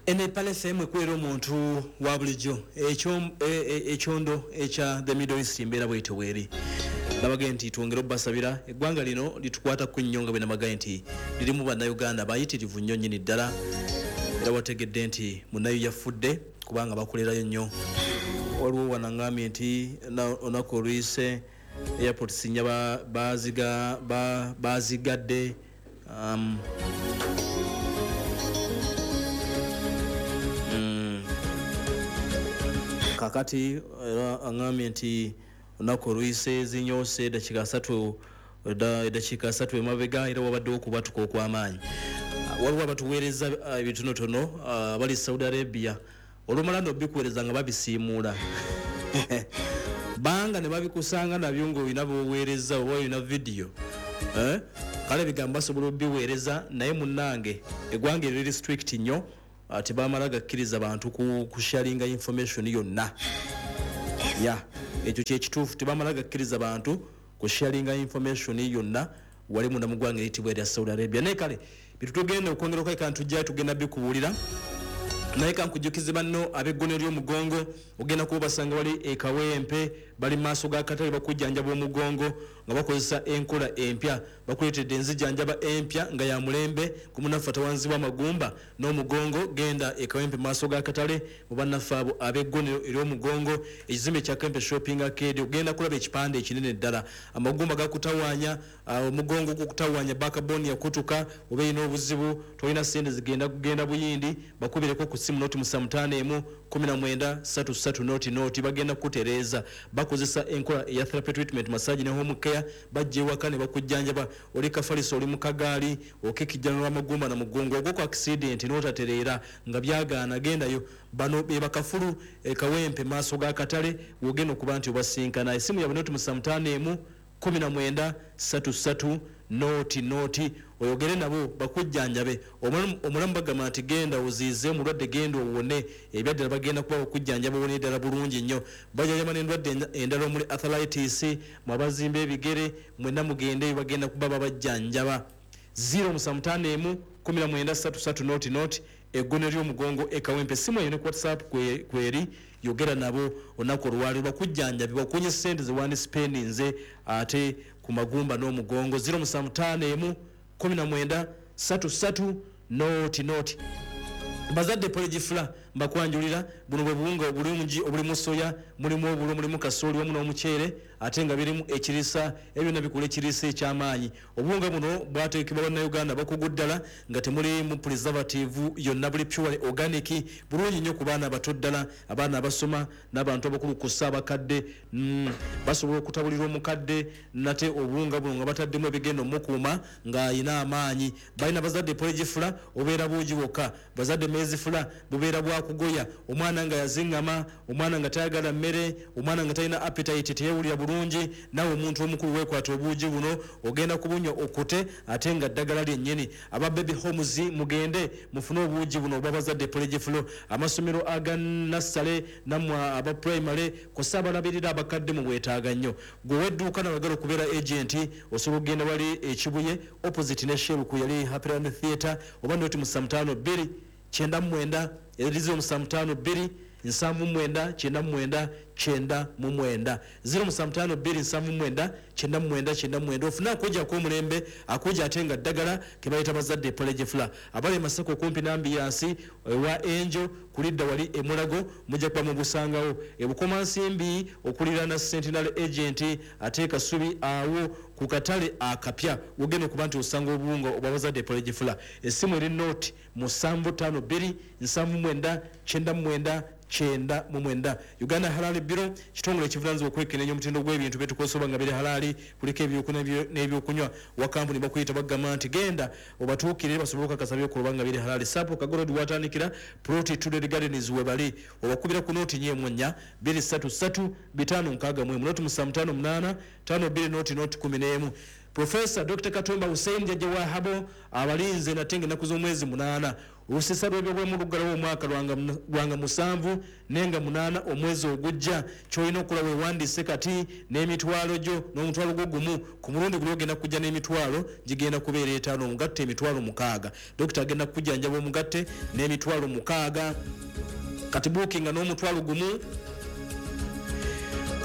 Eno Palace FM ekwera omuntu wa bulijjo ekyondo ekya the Middle East mbeera bwetyo bweri. Nabagaye nti twongere obbasabira eggwanga lino litukwata ku nnyo nga bwe nabagaye nti lirimu bannayuganda bayitirivu nnyo nnyini ddala, era wategedde nti munnayo yafudde kubanga bakolerayo nnyo. Waliwo wanaŋŋambye nti olunaku oluyise airport sinya bazigadde. Kakati era aŋŋambye nti olunaku oluyise zinyoose eddakiika 30 emabega, era wabaddewo okubatuka okw'amaanyi. Waliwo abatuweereza ebitonotono abali Saudi Arabia, olumala nobikuweereza nga babisiimuula banga ne babikusanga nabyo ng'olina b'oweereza oba olina vidiyo, eh? Kale ebigambo basobola obiweereza, naye munnange eggwanga eriri strict nnyo, tebamala gakkiriza bantu kusharinga information yonna. Ya, ekyo kyekituufu, tebamala gakkiriza bantu kusharinga information yonna wali munda mu ggwanga eriyitibwa erya Saudi Arabia. Naye kale bitu tugenda okwongera okweka ntujjayo, tugenda bikubuulira. Naye kankujjukize banno ab'eggono ly'omugongo, ogenda kuba basanga wali ekawempe, bali mu maaso ga katale, bakujjanjaba omugongo nga bakozesa enkola empya. Bakuleetedde enzijjanjaba empya nga ya mulembe ku munnaffe atawanzibwa amagumba n'omugongo. Genda ekawempe mu maaso ga katale mu bannaffe abo ab'eggonero ery'omugongo, ekizimbe kya Kempe Shopping Arcade, ogenda kulaba ekipande ekinene ddala. Amagumba gakutawaanya, omugongo gukutawaanya, backbone yakutuka oba erina obuzibu, tolina sente zigenda kugenda Buyindi, bakubireko ku simu 075 19 33 00, bagenda kukutereeza. Bakozesa enkola eya therapy treatment, massage ne home care. Bajja ewaka ne bakujjanjaba. Oli kafaliso, oli mu kagaali, okekijjanula amagumba na mugongo, ogwo ku accident n'otatereera nga byagaana, gendayo. Bano be bakafulu ekawempe maaso ga katale, wogenda okuba nti obasinkana. Esimu yabwe 051 19 33 00, oyogere nabo bakujjanjabe. Omulamu bagamba nti genda oziize omulwadde, genda owone. Ebyaddala bagenda kuba bakujjanjaba owone ddala bulungi nnyo. Bajjanjaba n'endwadde endala omuli arthritis, mwabazimba ebigere, mwenna mugende, bagenda kuba babajjanjaba. 0751 19 33 00, eggono ly'omugongo ekawempe. Simu eyo ne ku WhatsApp kweri, yogera nabo olunaku olwaleero bakujjanjabe, bakunye sente zewandisipendinze ate ku magumba n'omugongo. 0751 19 33 00. Bazadde porridge flour mbakwanjulira, buno bwe buwunga obulungi obulimu soya, mulimu obulo, mulimu kasooli wamu n'omuceere, ate nga birimu ekiriisa. Ebyo byonna bikola ekiriisa eky'amaanyi. Obuwunga buno bwateekebwa bannayuganda bakugu ddala, nga temulimu preservative yonna, buli pure organic, bulungi nnyo ku baana abato ddala, abaana abasoma n'abantu abakulu kussa abakadde. Basobola okutabulira omukadde nate obuwunga buno nga bataddemu ebigenda omukuuma ng'ayina amaanyi. Balina bazadde porridge flour, obeera buugi bwokka. Bazadde maize flour, bubeera bwakugoya omwana nga yaziŋŋama, omwana nga tayagala mmere, omwana nga talina appetite, teyewulira bulungi. Naawe omuntu omukulu weekwata obuugi buno, ogenda kubunywa okute, ate nga ddagala lyennyini. Aba baby homes mugende mufune obuugi buno obwa bazadde porridge flour. Amasomero aga nursery nammwe aba primary kw'ossa abalabirira abakadde mubwetaaga nnyo. Gwe ow'edduuka nawagala okubeera agent, osobola okugenda wali ekibuye opposite ne Shell ku yali Happyland Theatre, oba 072 99 eri 0752 79 99 99, 0752 79 99 99, ofune akuja ak'omulembe, akuja ate nga ddagala ke bayita bazadde porridge flour. Abali e Masaka okumpi n'ambiyansi ewa Enjo kulidda wali emulago, mujja kuba mubusangawo. Ebukomansimbi okuliraana Centenary agent, ate Kasubi awo ku katale akapya wogenda okuba nti osanga obuwunga obwa bazadde porridge flour. Essimu eri 0752 79 99 99. Uganda Halal Bureau kitongole ekivunanyizibwa okwekenneenya omutindo gw'ebintu byetukozesa oba nga biri halaali, kuliko ebyokulya n'ebyokunywa. Wa kampuni bakuyita, bagamba nti genda obatuukirire basobole okukakasa byokola oba nga biri halaali. Sapo Kagorodi watandikira plot Tuded Gardens we bali, obakubira ku 044 233 561, 0758 52 00 11. Professor Dr. Katumba Hussein Jajja wa Habo abalinze nate ng'ennaku z'omwezi 8. Olusisa lw'ebyobulamu luggalawo omwaka lwanga 7 nenga 8 omwezi ogujja. Ky'olina okukola weewandiise kati n'emitwalo gyo n'omutwalo gwo gumu. Ku mulundi guli ogenda kujja n'emitwalo gigenda kubeera 5, omugatte emitwalo 6. Dokita agenda kukujjanjaba omugatte n'emitwalo 6. Kati buukinga n'omutwalo gumu,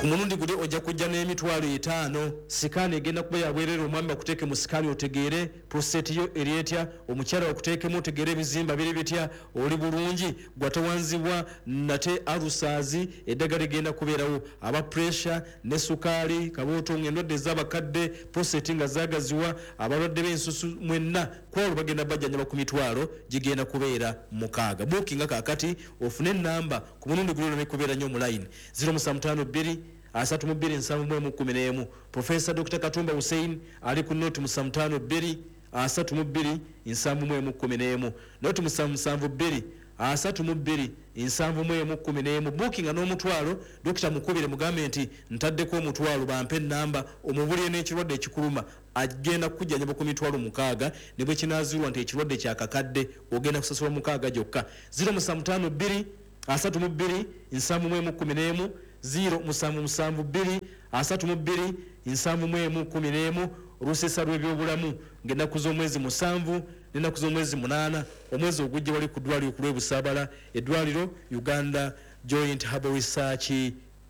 ku mulundi guli ojja kujja n'emitwalo 5. Sikaani egenda kuba yabwerere, omwami bakuteeke mu sikaani otegeere prostate yo eri etya, omukyala bakuteekemu otegeere ebizimba biri bitya, oli bulungi, gwatawanzibwa nate alusaazi, eddagala ligenda kubeerawo. Aba pressure ne sukaali, kabootongo, endwadde ez'abakadde, prostate nga zaagaziwa, abalwadde b'ensusu mwenna kwolwo bagenda bajjanjaba ku mitwalo gigenda kubeera 6. Buukinga kaakati ofune ennamba ku mulundi guli oleme kubeera nnyo mu line 0752 32 71 11. Professor Dr. Katumba Hussein ali ku noti 752 32 71 11, noti 772 32 71 11. Buukinga n'omutwalo, Dokita mukubire mugambe nti ntaddeko omutwalo, bampe ennamba, omubulire n'ekirwadde ekikuluma, agenda kukujjanjaba ku mitwalo 6, ne bwe kinaazirwa nti ekirwadde kyakakadde ogenda kusasula 6 gyokka. 0752 32 71 11, 0772 32 71 11. Olusesa lw'ebyobulamu ng'ennaku z'omwezi 7 n'ennaku z'omwezi 8 omwezi ogujja wali ku ddwaliro ku lw'e eddwaliro Uganda Joint Herbal Research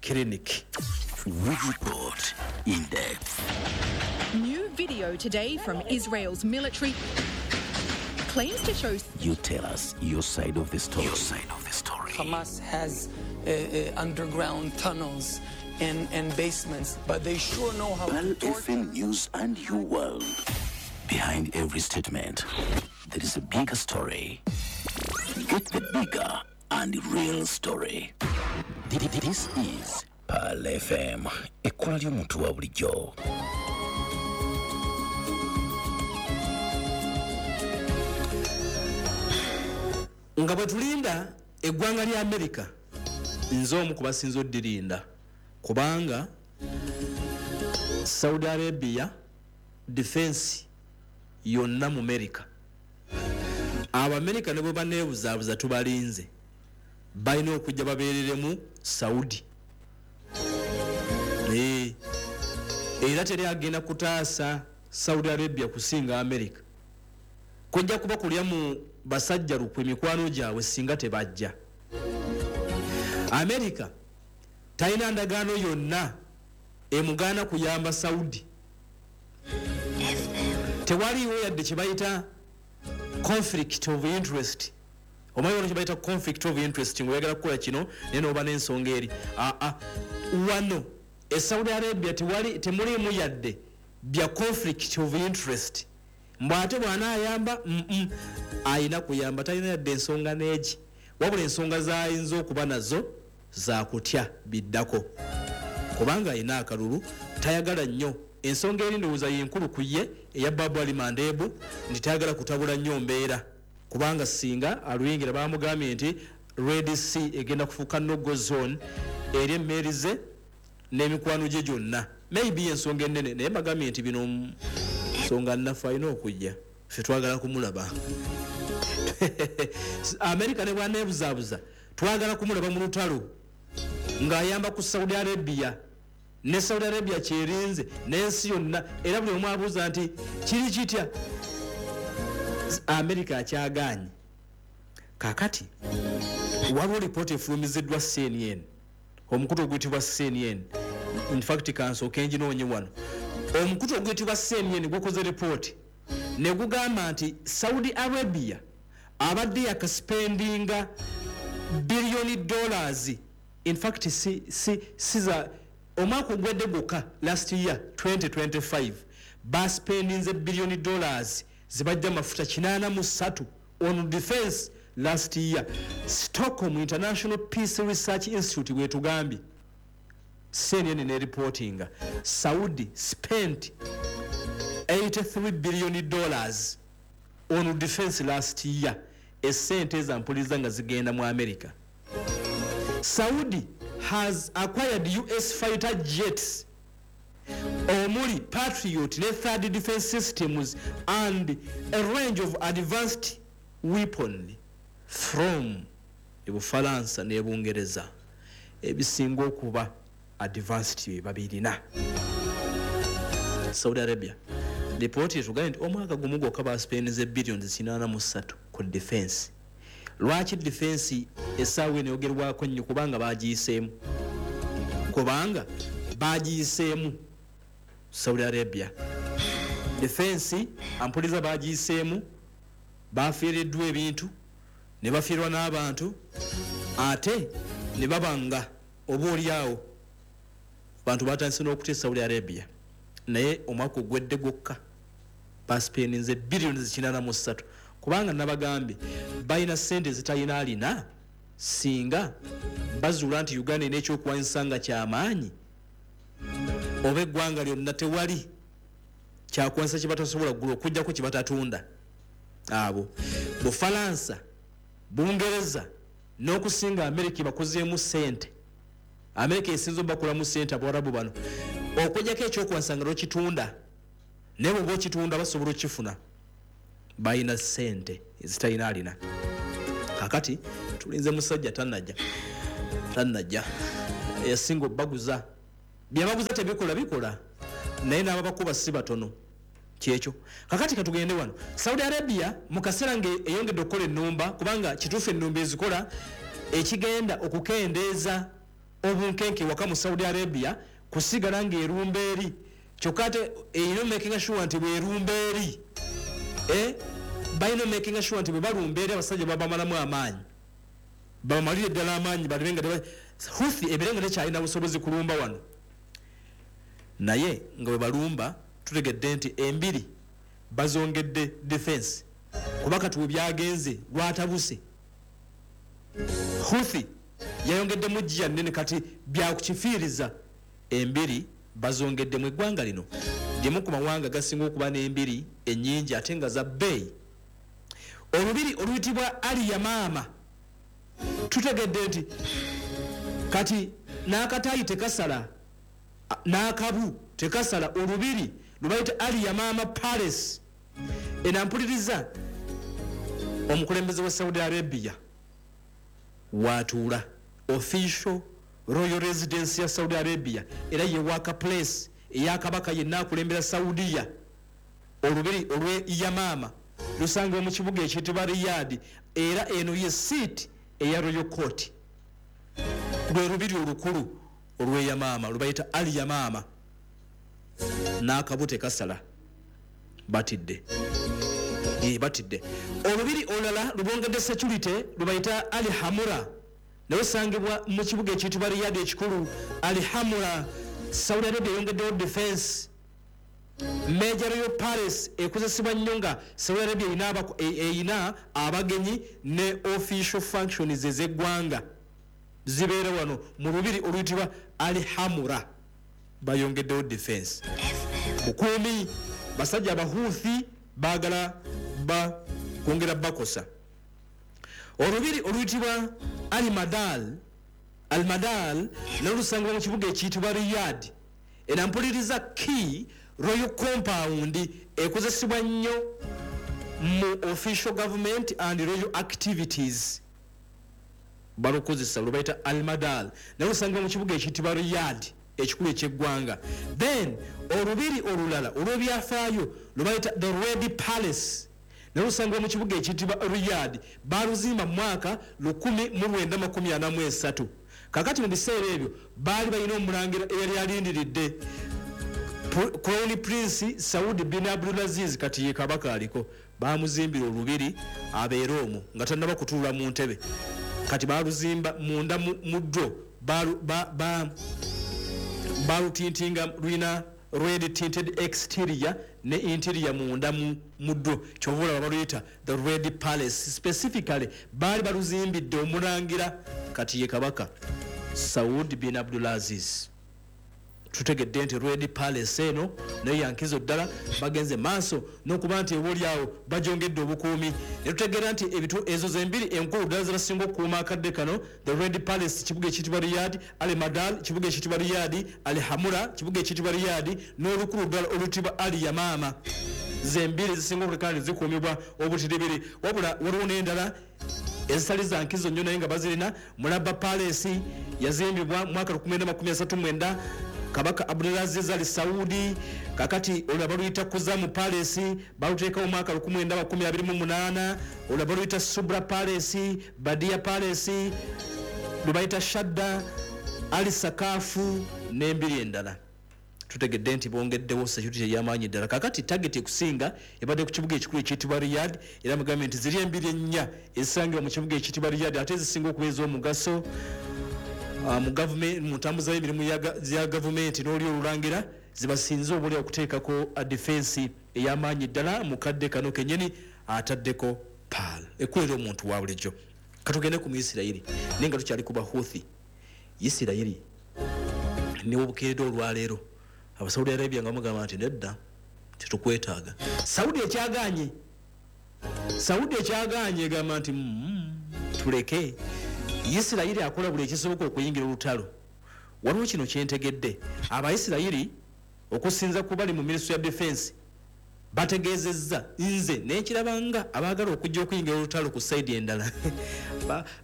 Clinic. We report in depth. New video today from Israel's military claims to show. You tell us your side of the story. Your side of the story. Hamas has underground tunnels and basements, but they sure know how Pearl to torture. FM News and your world. Behind every statement, there is a bigger story. Get the bigger and real story. This is Pearl FM. Ekkola ly'omuntu wa bulijjo. Nga bwe tulinda eggwanga lya Amerika, nze omu ku basinze oddirinda, kubanga Saudi Arabia defense yonna mu Amerika. Abamerika ne bwe baneebuzaabuza tubalinze, balina okujja babeereremu Saudi. Era teri agenda kutaasa Saudi Arabia kusinga Amerika. Kujja kuba kulya mu basajja lukwe mikwano gyabwe singa tebajja. Amerika talina ndagaano yonna emugaana kuyamba Saudi. Tewaliiwo yadde kye bayita conflict of interest. Omanyi wano kye bayita conflict of interest, ng'oyagala kukola kino naye n'oba n'ensonga eri. Aa, wano e Saudi Arabia tewali, temuliimu yadde bya conflict of interest. Mbw ate bw'anaayamba, ayina kuyamba, talina yadde ensonga n'egi. Wabula ensonga z'ayinza okuba nazo za kutya biddako, kubanga ayina akalulu, tayagala nnyo. Ensonga eri ndowooza y'enkulu ku ye eya Babu Ali Mandebu, nti tayagala kutabula nnyo mbeera, kubanga singa aluyingira bamugambye nti Red Sea egenda kufuuka no-go zone eri emmeeri ze n'emikwano gye gyonna. Maybe ensonga ennene, naye bagambye nti bino nsonga nnaffe alina okujja, ffe twagala kumulaba. Amerika ne bw'aneebuzaabuza twagala kumulaba mu lutalo ng'ayamba ku Saudi Arabia, ne Saudi Arabia kyerinze n'ensi yonna, era buli omu abuuza nti kiri kitya. Amerika akyagaanye. Kaakati waliwo lipooti efulumiziddwa CNN, omukutu oguyitibwa CNN. In fact kansooke nginoonye wano. Omukutu oguyitibwa CNN gukoze lipooti ne gugamba nti Saudi Arabia abadde yakaspendinga $billion. In fact si za omwaka ogwedde gwokka, last year 2025 baspendinze $billion zibajja mafuta 83 on defense last year. Stockholm International Peace Research Institute bwetugambye, CNN ne reportinga Saudi spent $83 billion on defense last year. Esente ezampuliza nga zigenda mu America. Saudi has acquired US fighter jets Omuli Patriot ne THAAD defense systems and a range of advanced weapon from Ebufalansa ne Bungereza. Ebisinga okuba advanced bye babirina. Saudi Arabia lipooti etugambye nti omwaka gumu gwokka baspendize billions 83 ku defense. Lwaki defense essaawa eno eyogerwako nnyo? Kubanga bagiyiseemu, kubanga bagiyiseemu. Saudi Arabia defense ampuliza bagiyiseemu, bafiiriddwa ebintu ne bafiirwa n'abantu, ate ne babanga oba oliawo bantu batandise n'okutya Saudi Arabia. Naye omwaka ogwedde gwokka basipendinze biliyoni 83, kubanga nabagambye balina sente ezitalina alina. Singa bazuula nti Uganda erina ekyokulwanyisa nga kyamaanyi oba eggwanga lyonna, tewali kyakulwanyisa kyebatasobola kugula okujjako kyebatatunda. Abo Bufalansa, Bungereza n'okusinga Amerika bakozeemu sente. Amerika esinza obakolamu sente. Abawarabu bano okujjako ekyokulwanyisa nga lwekitunda, naye bweoba okitunda basobola okukifuna. Balina sente ezitalina alina. Kakati tulinze musajja tanajja, tanajja yasinga obaguza. Byebaguza tebikola, bikola, naye n'ababakuba si batono. Kyekyo. Kakati katugende wano Saudi Arabia mu kaseera nga eyongedde okukola ennumba, kubanga kituufu ennumba ezikola ekigenda okukendeeza obunkenke waka mu Saudi Arabia kusigala ng'erumba eri. Kyokka ate erina making sure nti bwerumba eri, balina making sure nti bwe balumba eri abasajja babamalamu amaanyi, babamalire ddala amaanyi, balabe nga Huthi ebeere nga tekyalina busobozi kulumba wano. Naye nga bwe balumba, tutegedde nti embiri bazongedde defense, kuba kati we byagenze lwatabuse. Huthi yayongeddemu giya nnene, kati byakukifiiriza. Embiri bazongeddemu. Eggwanga lino limu ku mawanga gasinga okuba n'embiri ennyingi ate nga za bbeeyi. Olubiri oluyitibwa Aliyamaama, tutegedde nti kati n'akataayi tekasala, n'akabu tekasala. Olubiri lwebayita Aliyamaama Palace, enampuliriza omukulembeze wa Saudi Arabia watuula, official royal residence ya Saudi Arabia, era ye work place eyakabaka yenna akulembera Saudiya. Olubiri olwe Yamaama lusangibwa mu kibuga ekiyitibwa Riyadi, era eno ye seat eya royal court. Lwe lubiri olukulu olweyamaama lwebayita Al Yamaama, n'akabu tekasala. Batidde, batidde. Olubiri olulala lubongedde security lwebayita Al Hamura, naye osangibwa mu kibuga ekiyitibwa Riyadi ekikulu. Al Hamura, Saudi Arabia eyongeddewo defense. Major royal palace ekozesebwa nnyo nga Saudi Arabia erina abagenyi ne official functions ez'eggwanga zibeera wano mu lubiri oluyitibwa Al Hamura. Bayongeddewo defense, bukuumi. Basajja Abahuthi baagala kwongera bakosa. Olubiri oluyitibwa Almadal, Almadal nalusangibwa mu kibuga ekiyitibwa Riyad, era mpuliriza key royal compound ekozesebwa nnyo mu official government and royal activities. Balukozesa lwebayita Almadal, naye lusangibwa mu kibuga ekiyitibwa Riyad ekikulu ekyeggwanga. Then olubiri olulala olw'ebyafaayo lwebayita the Red Palace, naye lusangibwa mu kibuga ekiyitibwa Riyad. Baluzimba mu mwaka 1943. Kakati mu biseera ebyo baali balina omulangira eyali alindiridde Crown Prince Saudi bin Abdulaziz, kati ye kabaka aliko. Bamuzimbira olubiri abeere omwo nga tannaba kutuula mu ntebe. Kati baluzimba munda mu ddwo balutintinga, lulina red tinted exterior ne interior munda mu ddwo, kyova olaba baluyita the Red Palace. Specifically baali baluzimbidde omulangira, kati ye kabaka Saud bin Abdulaziz. Tutegedde nti Red Palace eno nayo yankizo ddala, bagenze maaso n'okuba nti obaoliawo bagyongedde obukuumi. Ne tutegeera nti ebitu ezo zembiri enkulu ddala zebasinga okukuuma akadde kano: the Red Palace, kibuga ekiyitibwa Riyad, Al Madal, kibuga ekiyitibwa Riyad, Al Hamura, kibuga ekiyitibwa Riyad, n'olukulu ddala oluyitibwa Al Yamama. Zembiri zisinga okuleka nti zikuumibwa obutiribiri. Wabula waliwo n'endala ezitali za nkizo nnyo naye nga bazirina. Mulaba Palace yazimbibwa mu mwaka 1939, Kabaka Abdulaziz Al Saudi. Kakati olwo baluyita Kuzamu Palace, baluteekawo mwaka 1928. Olwo baluyita Subra Palace, Badia Palace, lwe bayita Shadda, Ali Sakafu n'embiri endala. Tutegedde nti bongeddewo security ey'amaanyi ddala. Kakati target ekusinga ebadde ku kibuga ekikulu ekiyitibwa Riyad, era mugambye nti ziri embiri ennya ezisangibwa mu kibuga ekiyitibwa Riyad ate ezisinga okuba ez'omugaso mu gavumenti, mu ntambuza y'emirimu ya gavumenti n'oli olulangira, zibasinze obuli okuteekako defense ey'amaanyi ddala mu kadde kano kennyini ataddeko PAL ekulera omuntu wa bulijjo. Katugende ku Muisirayiri, naye nga tukyali ku Bahuthi. Isirayiri newobukeeredde olwaleero Abasaudi Arabia nga mugamba nti nedda, tetukwetaaga. Saudi ekyaganye, Saudi ekyaganye, egamba nti tuleke. Isirayiri akola buli ekisoboka okuyingira olutalo. Waliwo kino kyentegedde: Abaisirayiri, okusinza ku bali mu Ministry ya Defense, bategeezezza, nze nenkirabanga abaagala okujja okuyingira olutalo ku side endala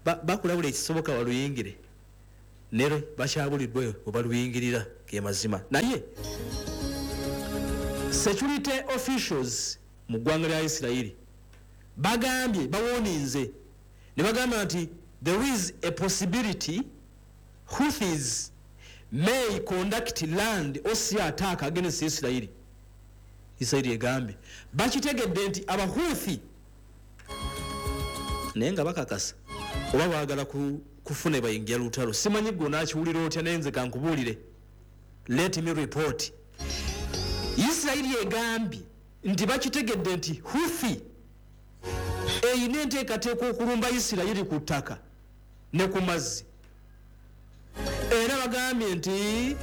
bakola buli ekisoboka baluyingire, nero bakyabuliddwe we baluyingirira, ge mazima. Naye security officials mu ggwanga lya Isirayiri bagambye, bawoninze ne bagamba nti there is a possibility Houthis may conduct land or sea attack against Israeli. Israeli egambye bakitegedde nti Abahuthi, naye nga bakakasa oba baagala kufuna bayingira lutalo. Simanyi gwe onaakiwulira otya, naye nze kankubuulire. Let me report: Isirayiri egambye nti bakitegedde nti Huthi eyina enteekateeka okulumba Isirayiri ku ttaka ne ku mazzi, era bagambye nti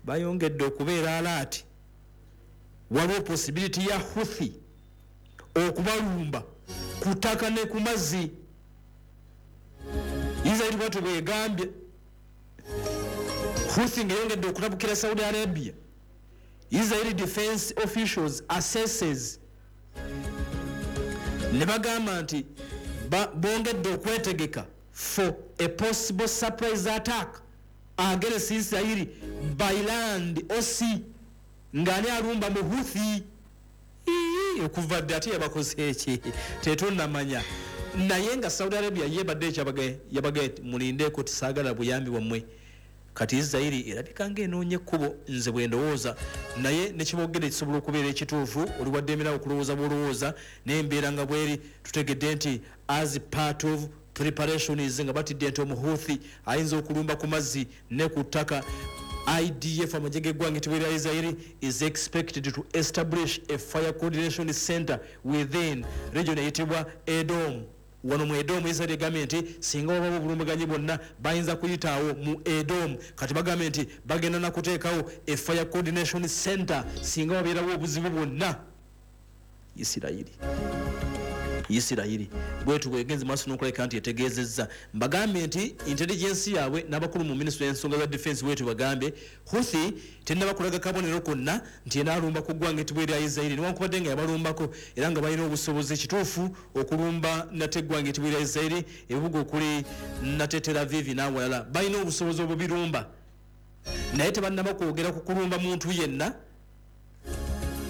bayongedde okubeera alert. Waliwo possibility ya Huthi okubalumba ku ttaka ne ku mazzi. Isirairi bwatyo bwegambye. Huthi ngeyongedde okulabukira Saudi Arabia, Israeli defense officials assesses ne bagamba nti bongedde okwetegeka for a possible surprise attack against Israeli by land or sea. Ng'ani alumba? Mu Huthi. Okuva dde ate yabakoze eki tetunnamanya, naye nga Saudi Arabia yebadde ekyabagaye, mulindeeko, tisaagala buyambi bwammwe. Kati Isirairi erabika ngaenoonya ekkubo, nze bwe ndowooza, naye nekibogere kisobola okubeera ekituufu. Oli waddemerawo okulowooza bwolowooza, naye embeera nga bweri, tutegedde nti as part of preparations, nga batidde nti Omuhuthi ayinza okulumba ku mazzi ne ku ttaka, IDF, amagye g'eggwanga etibwa lya Israeli, is expected to establish a fire coordination center within region eyitibwa Edom. Wano mu Edom, Israel egambye nti singa wabawo obulumbaganyi bwonna bayinza kuyitaawo mu Edom. Kati bagambye nti bagenda nakuteekawo a fire coordination center singa wabeerawo obuzibu bwonna. Isirayiri, Isirayiri bwetu bwegenze maaso n'okulabika nti etegeezezza. Mbagambye nti intelligence yaabwe n'abakulu mu Ministry y'ensonga za defense bwetu bagambye Huthi tennaba kulaga kabonero konna nti enaalumba ku ggwanga etibwa erya Isirayiri, newankubadde nga yabalumbako, era nga balina obusobozi kituufu okulumba nate eggwanga etibwa erya Isirayiri, ebibuga okuli nate Tel Aviv n'awalala balina obusobozi obubirumba, naye tebannaba kwogera ku kulumba muntu yenna.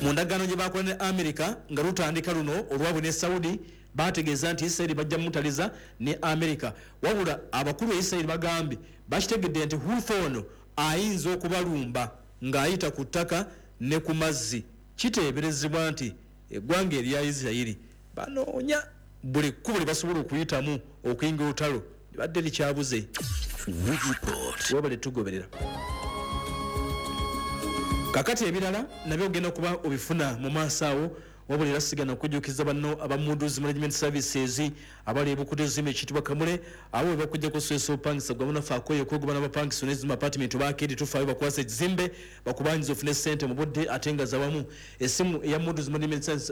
Mu ndagaano gye bakola ne America nga lutandika luno olwabwe ne Saudi, bategeeza nti Isirairi bajja mutaliza ne America. Wabula abakulu e Isirairi bagambye bakitegedde nti Huthi ono ayinza okubalumba ng'ayita ku ttaka ne ku mazzi. Kiteeberezebwa nti eggwanga erya Isirayiri banoonya buli kkubo lye basobola okuyitamu okuyingira olutalo, libadde likyabuze. Webale tugoberera. Kakati ebirala nabyo ogenda kuba obifuna mu maaso awo. Wabula era sigana okujjukiza banno aba Moody's Management Services abali ebukutezima ekitibwa Kamule, abo we bakujja kuswesa opangisa gwe munafe akoye okwegobana abapangisa n'ezima apartment bakeedi tufaayo bakwasa ekizimbe bakubanyiza ofune ssente mu budde ate nga zawamu. Essimu eya Moody's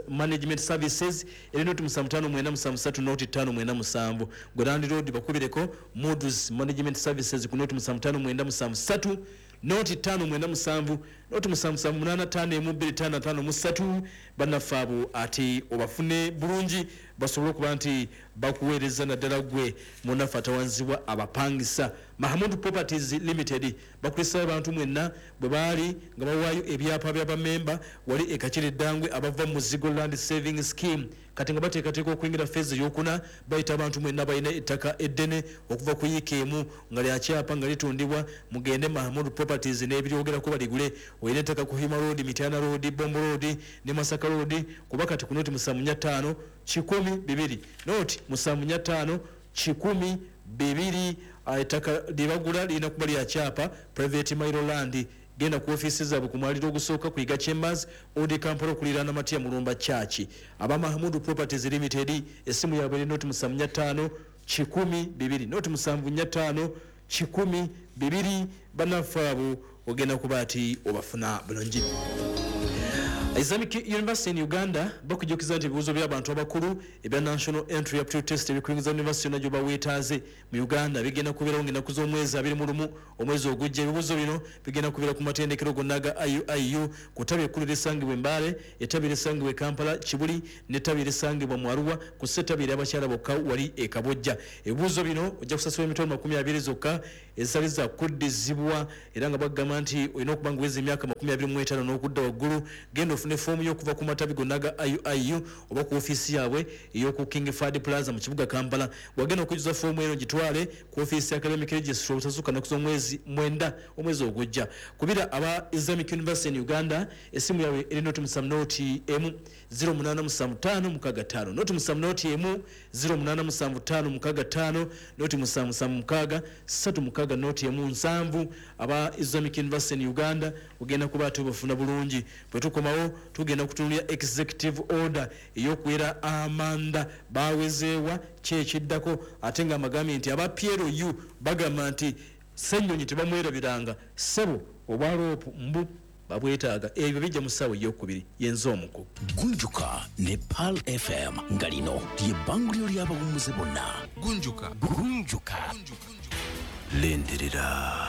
Management Services eri 0759730597. Gwe landlord bakubireko Moody's Management Services ku 075973 0597 0778512553. Bannaffe abo ate obafune bulungi basobole okuba nti bakuweereza naddala gwe munnaffe atawanzibwa abapangisa. Mahamud Properties Limited bakulisa abantu mwenna bwe baali nga bawaayo ebyapa by'abamemba wali e Kakiri Eddangwe abava mu Muzigo Land Saving Scheme. Kati nga bateekateeka okuyingira feezi eyokuna, bayita abantu mwenna balina ettaka eddene okuva ku yiika emu nga lyakyapa nga litundibwa, mugende Mahamud Properties n'ebiryogerako baligule. Olina ettaka ku Hima Road, Mityana Road, Bombo Road ne Masaka Road, kuba kati ku 075 102 075 102. Ettaka lyebagula lirina kuba lya kyapa private mailo land. Genda ku ofiisi zaabwe ku mwaliro ogusooka ku Iga Chambers, Old Kampala, okuliraana Matia Mulumba Church. Aba Mahmudu Properties Limited essimu yaabwe eri 075 102 075 102. Bannaffe abo ogenda kuba ati obafuna bulungi. Islamic University in Uganda bakujjukiza nti ebibuuzo by'abantu abakulu ebya National Entry Aptitude Test ebikuyingiza university yonna gy'oba weetaaze mu Uganda bigenda kubeerawo ng'ennaku z'omwezi 21 omwezi ogujja. Ebibuuzo bino bigenda kubeera ku matendekero gonna ga IUIU, ku ttabi ekkulu erisangibwa e Mbale, ettabi erisangibwa e Kampala Kibuli n'ettabi erisangibwa mu Arua, ku sso ettabi ery'abakyala bokka wali e Kabojja. Ebibuuzo bino ojja kusasula emitwalo 20 zokka ezitali za kuddizibwa, era nga bagamba nti olina okuba nga oweza emyaka 25 n'okudda waggulu. Genda ofune foomu y'okuva ku matabi gonna ga IUIU oba ku ofiisi yaabwe ey'oku King Fahd Plaza mu kibuga Kampala. Wagenda okujjuza foomu eno gitwale ku ofiisi ya Academic Registrar obutasukka nnaku z'omwezi 9 omwezi ogujja. Kubira aba Islamic University in Uganda essimu yaabwe eri 071 087565 071 087565 077 36 0 1 7. Aba Islamic University in Uganda ogenda kuba ate obafuna bulungi. Bwe tukomawo tugenda kutunuulira executive order ey'okuwera amanda bawezeewa ki ekiddako, ate nga amagambye nti aba PLU bagamba nti Ssennyonyi tebamwerabiranga, ssebo obwaloopu mbu babwetaaga. Ebyo bijja mu ssaawa eyokubiri yenza omuku. Gunjuka ne Pearl FM, nga lino lye bbanguliro ly'abawummuze bonna. Gunjuka. Gunjuka. Lindirira.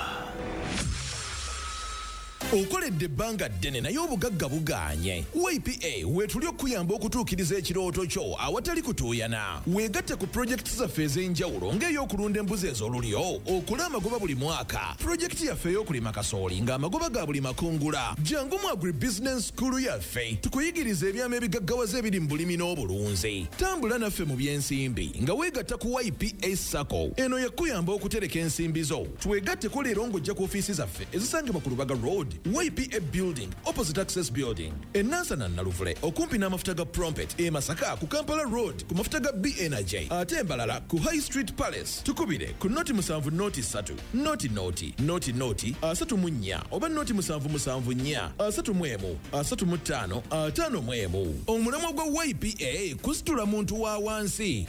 Okoledde ebbanga ddene naye obugagga bugaanye. YPA weetuli okuyamba okutuukiriza ekirooto kyo awatali kutuuyana. Weegatte ku pulojekiti zaffe ez'enjawulo ng'ey'okulunda embuzi ez'olulyo okole amagoba buli mwaka, pulojekiti yaffe ey'okulima kasooli ng'amagoba ga buli makungula. Jangu mu Agribusiness School yaffe tukuyigiriza ebyama ebigaggawaza ebiri mu bulimi n'obulunzi. Tambula naffe mu by'ensimbi nga weegatta ku YPA SACCO. Eno yakuyamba okutereka ensimbi zo. Twegatteko leero ng'ojja ku ofiisi zaffe ezisangibwa ku Lubaga Road, YPA Building, opposite Access Building, e Nansana Naluvule okumpi n'amafuta ga Prompet, e Masaka ku Kampala Road ku mafuta ga B Energy, ate embalala ku High Street Palace. Tukubire ku 070 03 00 00 34 oba 0774 31 35 51. Omulamwa gwa YPA kusitula muntu wa wansi.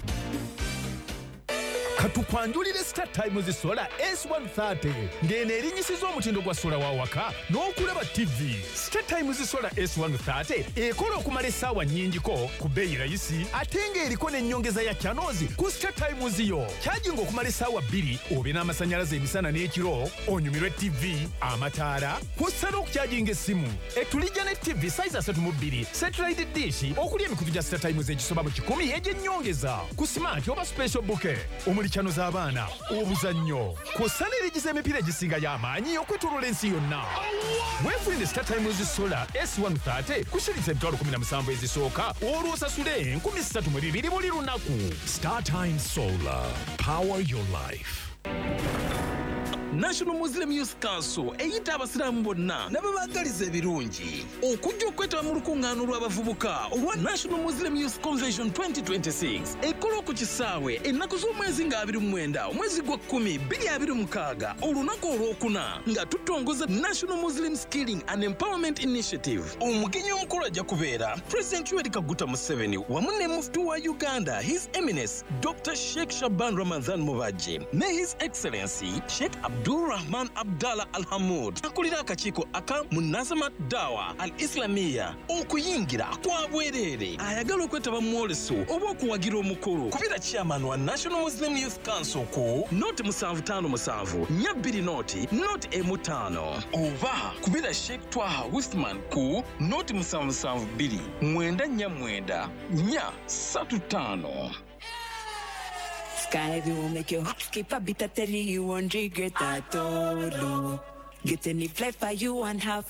Katukwanjulire Star Times Solar S130, ng'eno erinyisiza omutindo gwa sola wa waka n'okulaba TV. Star Times Solar S130 ekola okumala essaawa nnyingiko ku bbeeyi rayisi, ate ng'eriko n'ennyongeza ya channels ku Star Times yo. Kyajinga okumala essaawa 2 obe n'amasannyalaze emisana n'ekiro, onyumirwe TV, amataala, kw'ossa n'okukyajinga essimu. Etulijja ne TV size 32, satellite dish okuli emikutu gya Star Times egisoba mu 100 egy'ennyongeza ku smart oba special bouquet omuli channel z'abaana, obuzannyo, kw'ossa n'erigiza emipiira egisinga y'amaanyi okwetooloola ensi yonna. Weefunire Star Times Solar S130 ku shilingi 17,000 ezisooka, olwo osasule 3,200 buli lunaku. Star Times Solar. Power your life. National Muslim Youth Council eyita abasiraamu bonna n'ababaagaliza ebirungi okujja okwetaba mu lukuŋŋaana olw'abavubuka olwa National Muslim Youth Convention 2026 ekola ku kisaawe ennaku z'omwezi nga 29 omwezi gwa 10 2026, olunaku olwokuna, nga tutongoza National Muslim Skilling and Empowerment Initiative. Omugenyi omukulu ajja kubeera President Yoweri Kaguta Museveni wamu ne Mufti wa Uganda, His Eminence Dr Sheikh Shaban Ramadhan Mubajje, ne His Excellency Sheikh Abdul Rahman Abdallah Al Hamud, akulira akakiiko aka Munazamat Dawa Al Islamia. Okuyingira kwa bwereere. Ayagala okwetaba mu mwoleso oba okuwagira omukolo, kubira chairman wa National Muslim Youth Council ku 0 757 420 015, oba kubira Sheikh Twaha Wisman ku 0772 949 435. Sky will make your heart skip a beat. I tell you, you won't regret at all. Oh. Get any flight for you and have